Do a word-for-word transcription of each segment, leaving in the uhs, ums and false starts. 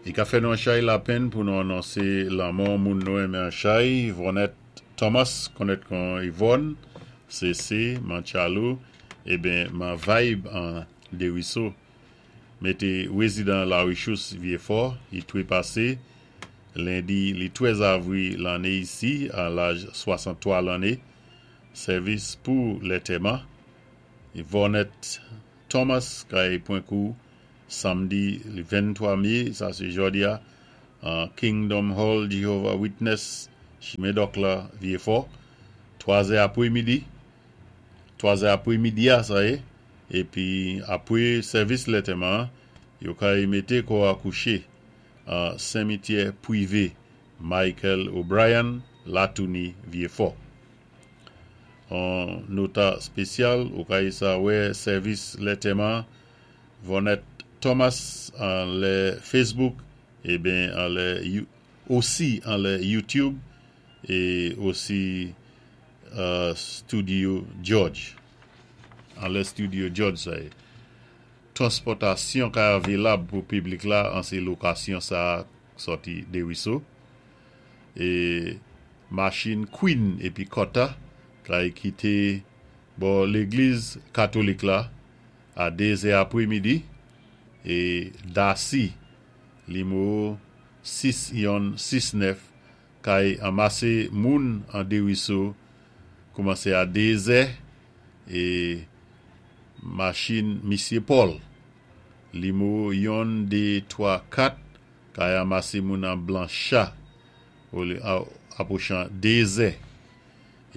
I ka fè nou an chay lapenn pou nou anonsé lanmò moun nou enmen an chay, Yvonnette Thomas, konnèt kon Yvonne, C C, man Tchalou, eben man Vibe an Dériso. Mété wézidan Larichous Vyéfò, i twépasé lendi li twèz avwi lanné isi, a laj swasanntwa lanné. Sèvis pou lantèman Yvonnette Thomas kay pwan kou samdi li venntwa mé, sa sé jòdi-a, an Kingdom Hall Jehovah Witness, chimen Dòk la, Vyéfò, twa zè apwé midi, twa zè apwé midi-a sa yé, épi apwé sèvis lantèman, yo kay mété kò a kouché an simityè pwivé Michael O'Brien, Latouni, Vyéfò. An nota spésyal, ou kay sa wè sèvis lantèman Yvonnette Thomas an lè Facebook, eben an lè osi an lè YouTube é osi uh, Studio George. An lè Studio George sa yé. Transpòtasyon ka avilab pou piblik la an sé lokasyon sa sòti Dériso. É machin Queen épi Kota kay kité bò légliz katolik la a dé zè apwé midi é Darcy nimewo sis yonn sis nèf kay anmasé moun an Dériso koumansé a dé zè é machin Misyé Paul nimewo yonn dé twa kat kay anmasé moun an Blancha apwochan dé zè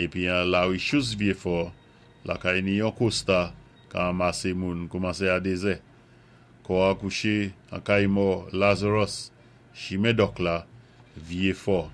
épi an Larichous Vyéfò lakay Niyon Costa ka anmasé moun koumansé a dé zè. Kò a kouché an kay mò Lazarus chimen Dòk la, Vyéfò.